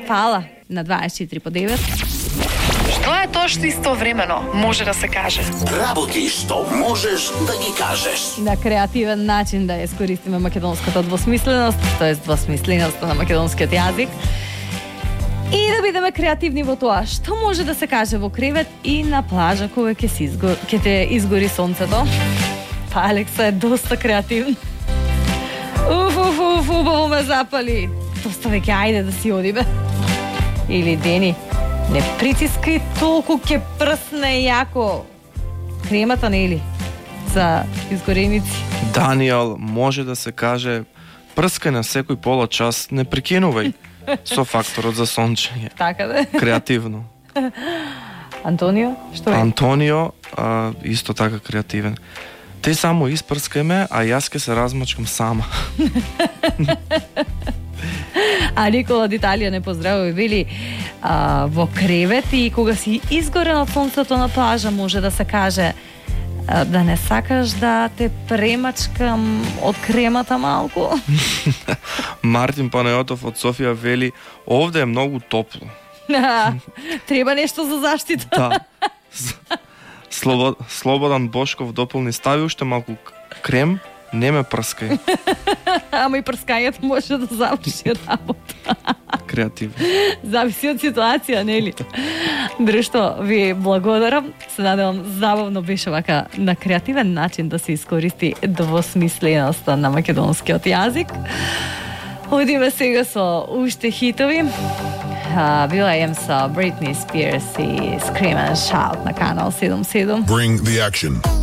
Фала на 24 по 9. Што е тоа што истовремено може да се каже? Работи што можеш да ги кажеш. На креативен начин да искористиме македонската двосмисленост, тоест двосмисленоста на македонскиот јазик. И да бидеме креативни во тоа што може да се каже во кревет и на плажа кога ќе те изгори сонцето. Па Алекса е доста креативна. Убаво ме запали. Доста веќе ајде да си одиме. Или Дени, не притискај толку, ќе прсне јако. Кремата нели за изгореници. Даниел, може да се каже прскај на секој пола час, не прекинувај со факторот за сончење. Така да. Креативно. Антонио, што е? Антонио, исто така креативен. Те само испрскај ме, а јас ке се размачкам сама. А Никола од Италија не поздравува и вели во кревет и кога си изгорен од сонцето на плажа може да се каже да не сакаш да те премачкам од кремата малку. Мартин Панајотов од Софија вели овде е многу топло. Треба нешто за заштита. Да. Слободан Бошков дополни стави уште малку крем, не ме прскај. Ама и прскањето може да заврши работа. Креативно. Зависи од ситуација, нели? Друштво, ви благодарам. Се надевам забавно беше вака на креативен начин да се искористи двосмисленоста на македонскиот јазик. Одиме сега со уште хитови. Била ем со Britney Spears и Scream and Shout на канал 77. Bring the action.